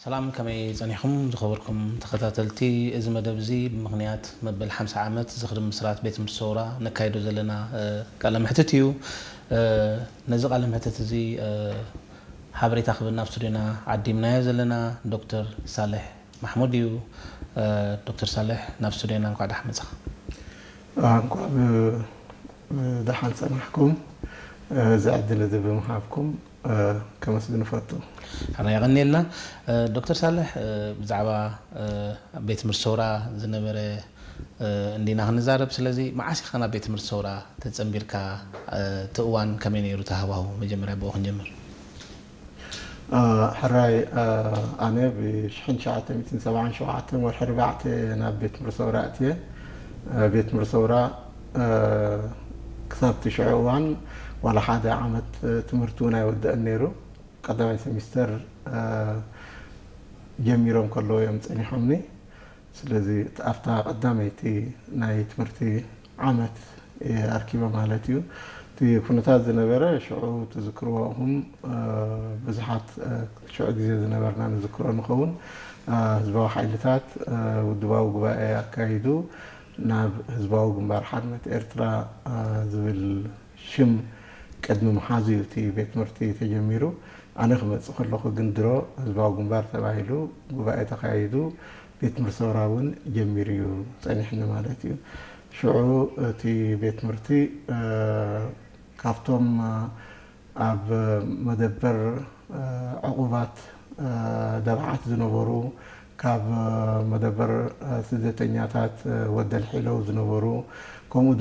ሰላም፣ ከመይ ጸኒሕኩም ዝኸበርኩም ተኸታተልቲ? እዚ መደብ እዚ ብምኽንያት መበል ሓምሳ ዓመት ዝኽሪ ምስራት ቤት ትምህርቲ ሰውራ ነካይዶ ዘለና ቃለ መሕትት እዩ። ነዚ ቃለ መሕትት እዚ ሓበሬታ ክብና ኣብ ስቱዲዮና ዓዲምናዮ ዘለና ዶክተር ሳልሕ ማሕሙድ እዩ። ዶክተር ሳልሕ፣ ናብ ስቱዲዮና እንኳዕ ደሓን መጻኻ። እንኳዕ ደሓን ጸናሕኩም። እዚ ዕድል እዚ ብምሃብኩም ከመስግን እፈቱ። ሕራይ የቐንየልና። ዶክተር ሳልሕ፣ ብዛዕባ ቤት ትምህርቲ ሰውራ ዝነበረ እንዲና ክንዛረብ። ስለዚ መዓስ ኢኻ ናብ ቤት ትምህርቲ ሰውራ ተጸንቢርካ? እቲ እዋን ከመይ ነይሩ እቲ ሃዋሁ? መጀመርያ ብኡ ክንጀምር። ሕራይ፣ ኣነ ብ ሽሕን ትሽዓተ ሚእትን ሰብዓን ሸውዓተን ወርሒ ኣርባዕተ ናብ ቤት ትምህርቲ ሰውራ ኣትየ። ቤት ትምህርቲ ሰውራ ክሳብ እቲ ሽዑ እዋን ዋላ ሓደ ዓመት ትምህርቲ እውን ኣይወደአን ነይሩ። ቀዳማይ ሰሚስተር ጀሚሮም ከለዉ እዮም ጸኒሖምኒ። ስለዚ ኣብታ ቀዳመይቲ ናይ ትምህርቲ ዓመት እየ ኣርኪበ ማለት እዩ። እቲ ኩነታት ዝነበረ ሽዑ ትዝክርዎ ኢኹም፣ ብዙሓት ሽዑ ግዜ ዝነበርና ንዝክሮ ንኸውን። ህዝባዊ ሓይልታት ውድባዊ ጉባኤ ኣካይዱ ናብ ህዝባዊ ግንባር ሓርነት ኤርትራ ዝብል ሽም ቅድሚ ምሓዙ እዩ እቲ ቤት ትምህርቲ ተጀሚሩ። ኣነ ክመጽእ ከለኹ ግን ድሮ ህዝባዊ ግንባር ተባሂሉ ጉባኤ ተኻይዱ ቤት ትምህርቲ ሰውራ እውን ጀሚሩ እዩ ጸኒሕኒ ማለት እዩ። ሽዑ እቲ ቤት ትምህርቲ ካብቶም ኣብ መደበር ዕቑባት ደብዓት ዝነበሩ፣ ካብ መደበር ስደተኛታት ወደል ሒለው ዝነበሩ፣ ከምኡ